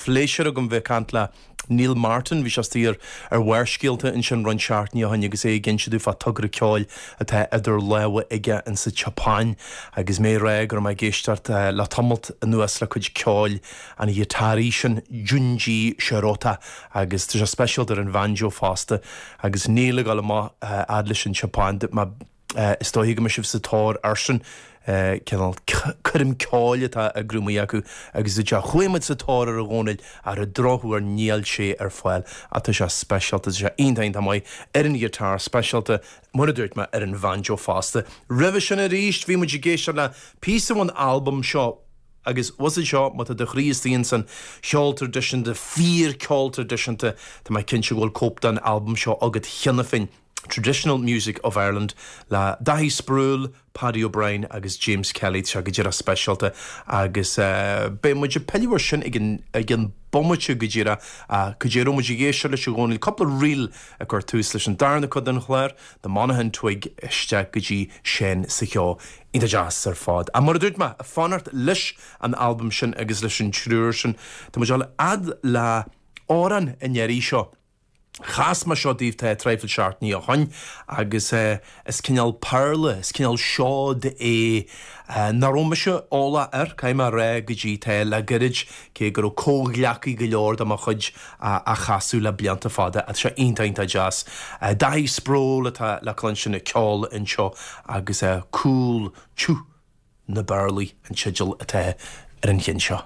Phléisiúr agam bheith ag caint le Neil Martin, bhí sé istigh ar ar Bharrscéalta ansin roinnt seachtainí ó shin agus é ag inse domh fá togra ceoil atá idir lámha aige insa tSeapáin agus mé ag rá go raibh mé ag éisteacht le tamalt anuas le cuid ceoil an ghiotáraí sin Junji Shirota agus tá sé speisialta ar an bhanjo fosta agus Neil ag dul amach fhad leis an tSeapáin má Is dóiche go mbeidh sibh sa tóir airsean, cineál coirm ceoil atá á eagrú amuigh acu agus dúirt sé, chuaigh muid sa tóir air a Dhónaill ach ar an drochuair níl sé ar fáil ach tá sé speisialta, tá sé iontach iontach maith ar an ghiotár, speisialta mar a dúirt mé ar an bhanjo fosta. Roimhe sin arís bhí muid ag éisteacht le píosa ón albam seo agus bhfuil a fhios agat seo, má tá do chroí istigh insan cheol traidisiúnta, fíor-cheol traidisiúnta, tá mé cinnte go bhfuil cóip den albam seo agat cheana féin. Traditional Music of Ireland le Dáithí Sproule, Paddy O'Brien agus James Kelly. Tá sé go díreach speisialta agus beidh muid ag pilleadh air sin ag an ag an bomaite go díreach ach cad é a raibh muid ag éisteacht leis a Dhónaill, cúpla ríl ag cur tús leis an darna cuid den chlár, The Monaghan Twig isteach go dtí Seán sa Cheo. Iontach deas ar fad. Ach mar a dúirt mé, ag fanacht leis an albam sin agus leis an triúr sin, tá muid ag dul fhad le amhrán an iarraidh seo. Chas mé seo daoibh tá traidhfil seachtainí ó shoin agus is cineál péarla, is cineál seod é nach raibh mise eolach air, caithfidh mé a rá, go dtí tá le gairid, cé go raibh comhghleacaí go leor de mo chuid á chasadh le blianta fada. Tá sé iontach, iontach deas. Dáithí Sproule atá le cluinstin ag ceol anseo agus Cúl Tiúth na bPéarlaí an teideal atá ar an cheann seo.